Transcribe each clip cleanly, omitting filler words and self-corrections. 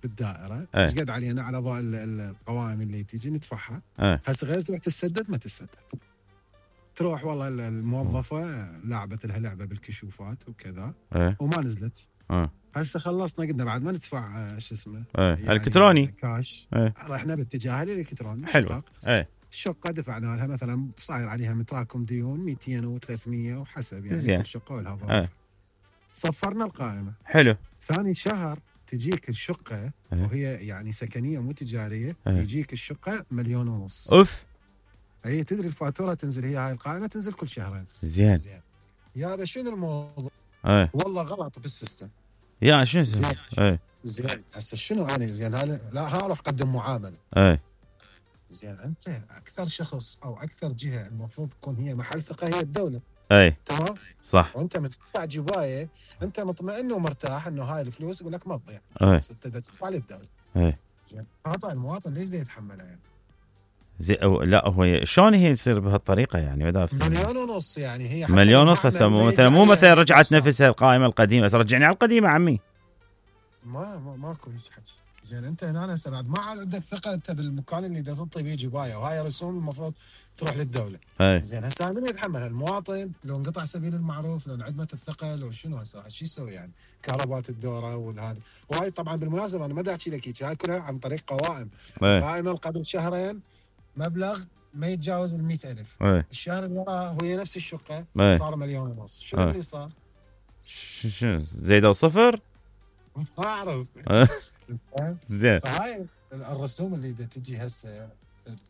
بالدائره ايش قد علينا على ضوء القوائم اللي تجي ندفعها. هسه غير تروح تسدد ما تسدد، تروح والله الموظفه لعبت لها لعبه بالكشوفات وكذا وما نزلت. هسه خلصنا قلنا بعد ما ندفع شو اسمه يعني الكتروني كاش، رحنا باتجاه الالكتروني. حلو. الشقه دفعنا لها مثلا صاير عليها متراكم ديون 200 و300 وحسب يعني كل شقه ولها صفرنا القائمه. حلو. ثاني شهر تجيك الشقه وهي يعني سكنيه مو تجاريه، يجيك الشقه 1.5 مليون. اوف. اي تدري الفاتوره تنزل، هي هاي القائمه تنزل كل شهرين. زين. يا شنو الموضوع؟ والله غلط بالسيستم. يا شنو زين هسه شنو انا زين لا اروح اقدم معامله. زين انت اكثر شخص او اكثر جهه المفروض تكون هي محل ثقه هي الدوله. تمام صح. وانت تدفع جبايه انت مطمئن ومرتاح انه هاي الفلوس يقول لك ما تضيع، انت تدفع للدوله. زين خطا المواطن ليش بده يتحملها يعني؟ لا هو شلون هي تصير بهالطريقه يعني؟ 1.5 مليون يعني هي 1.5 مليون. هسه مو مثلا رجعت نفسها القائمه القديمه، بس رجعني على القديمه عمي. ماكو هيك حكي. زين انت هنا هسه بعد ما عندك ثقه انت بالمكان اللي تعطي بيه جبايه، وهاي رسوم المفروض تروح للدوله. زين هسه من يتحملها؟ المواطن لو انقطع سبيل المعروف، لو انعدمت الثقه، لو شنو هسه شو يسوي يعني؟ كهربات الدوره والهذا. وهاي طبعا بالمناسبه انا ما دا احكي لك هيك، هاي كلها عن طريق قوائم. قائمه قبل شهرين مبلغ ما يتجاوز 100,000. الشهر اللي وراه هي نفس الشقه صار 1.5 مليون. شنو اللي صار؟ شنو زيدوا صفر؟ ما اعرف. زين. فهاي الرسوم اللي تجي هسه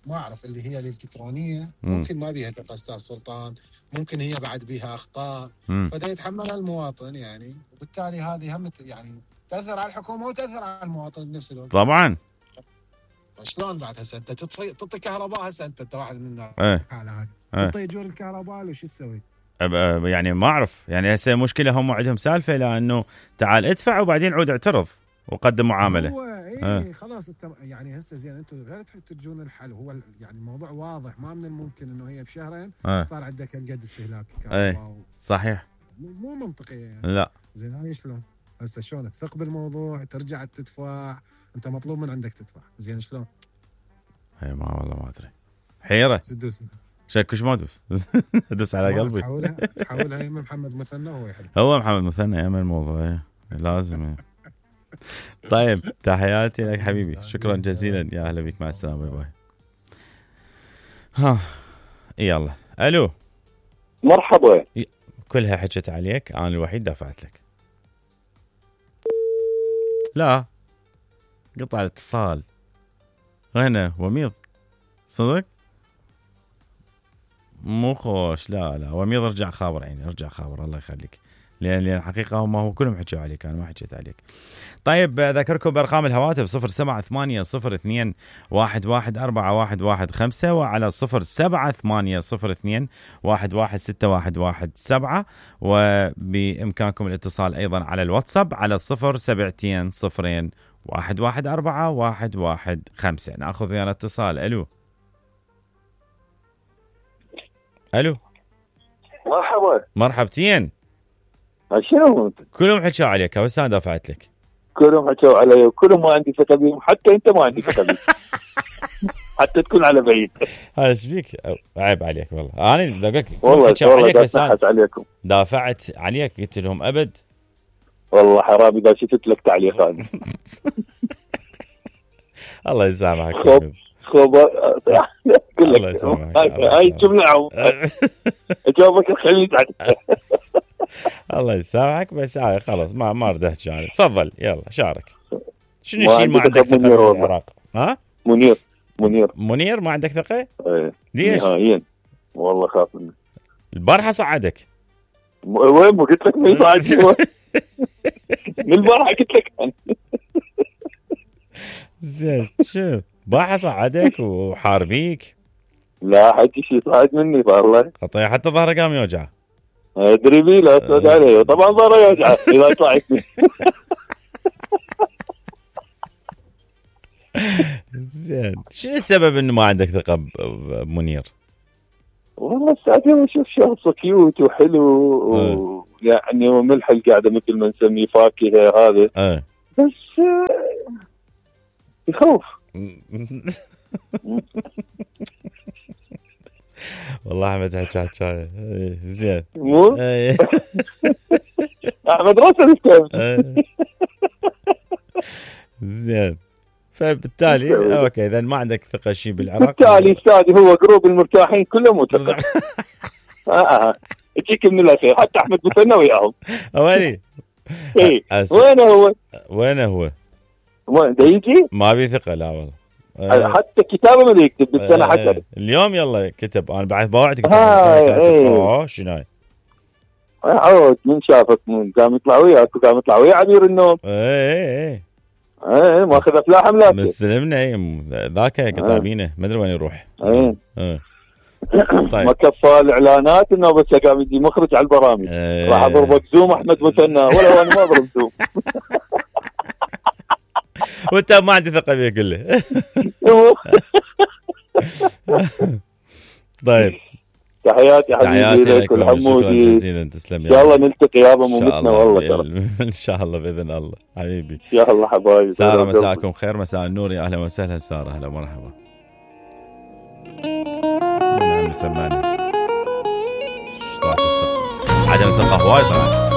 ما اعرف اللي هي الالكترونيه ممكن ما بيها دقه استاذ سلطان، ممكن هي بعد بيها اخطاء فدا يتحملها المواطن يعني، وبالتالي هذه هم يعني تاثر على الحكومه وتاثر على المواطن بنفس الوقت. طبعا. شلون بعد هسه انت تعطي كهرباء، هسه انت واحد من الناس حالة تعطي اجور الكهرباء وش تسوي؟ يعني ما اعرف يعني هسه مشكله هم عندهم سالفه لانه تعال ادفع وبعدين عود اعترض وقدم معامله. هو خلاص انت يعني هسه زين انتم غير تجون الحل. هو يعني الموضوع واضح، ما من الممكن انه هي بشهرين صار عندك هالقد استهلاك كهرباء. صحيح. مو منطقي يعني. لا زين هاي شلون هسه شلون تثق بالموضوع ترجع تدفع؟ انت مطلوب من عندك تدفع. زين شلون؟ هي ما والله ما ادري، حيره. شو تدوس؟ شكوش ما ادوس. ادوس على قلبي. تحولها يم محمد مثنى وهو يحل. هو محمد مثنى يعمل الموضوع لازم. طيب تحياتي لك حبيبي، شكرا جزيلا، يا اهلا بك، مع السلامه، باي باي. ها يلا. الو مرحبا. كلها حكت عليك، انا الوحيد دفعت لك. لا قطع الاتصال. هنا وميض صدق مو خوش. لا وميض ارجع خابر عيني، ارجع خابر الله يخليك، لان الحقيقه هم هو كلهم حكوا عليك، انا ما حكيت عليك. طيب اذكركم بارقام الهواتف 07802114115 وعلى 07802116117 وبامكانكم الاتصال ايضا على الواتساب على 07201141115. ناخذ ويانا اتصال. الو مرحبا. مرحبتين. شنو كلهم حكوا عليك بس انا دافعت لك. كلهم حكوا علي وكلهم ما عندي ثقه بهم، حتى انت ما عندي ثقه بهم. حتى تكون على بعيد. هذا ايش بيك؟ عيب عليك والله. انا والله عليك بس عليكم دافعت عليك، قلت لهم ابد والله حرام اذا شفت لك تعليق هذا. الله يسامحك. الله يسامحك. هاي جمله اجاوبك خليني تعال. الله يسامحك بس خلاص ما اريد احكي عنه. تفضل يلا شارك. شنو الشيء ما عندك ثقه بالعراق؟ ها منير ما عندك ثقه؟ ايه ليش؟ نهائيا والله خاف منه. البارحه صعدك. وين ما قلت لك ما يصعد. من البارحه قلت لك. زين شوف البارحه صعدك وحاربيك. لا حكي شيء صعد مني والله. حتى ظهره قام يوجعه. ادري بي لا تسود عليه طبعا ظهره يوجعه اذا طلعت. زين شنو السبب انه ما عندك ثقه بمنير؟ والله ساعتين اشوف شخص كيوت وحلو ويعني وملح القعده مثل ما نسميه فاكهه هذا. بس يخوف. والله احمد حكايه زين. مو احمد راسل زين. فبالتالي اوكي اذا ما عندك ثقه شيء بالعراق، بالتالي استاذي هو جروب المرتاحين كلهم متفق. يجيك من الاخير حتى احمد مثنى وياهم. ويني؟ اي وينه هو؟ ده يجي؟ ما بي ثقه لا والله. حتى كتابه ما يكتب بالسنه حتى اليوم يلا كتب. انا بعد بوعدك شنو عود من شافك من قام يطلع وياك وقام يطلع ويا عبير النوم. ايه ماخذ افلاح حملات مستلمنا ذاك كتابينه ما ادري وين يروح. طيب ما كفى الاعلانات انه بس قام يجي مخرج على البرامج. راح اضربك زوم احمد مثنى ولا انا ما اضرب زوم. وانت ما عندي ثقه فيه كله. طيب تحياتي حبيبي لك والحمودي. جزيلا تسلم. ان شاء الله نلتقي يابا ممتنا والله. ان شاء الله باذن الله حبيبي. ان شاء الله حبايبي. ساره مساءكم خير. مساء النور. يا اهلا وسهلا ساره. اهلا ومرحبا. نعم سمعني. عدم الثقه وايد طبعا.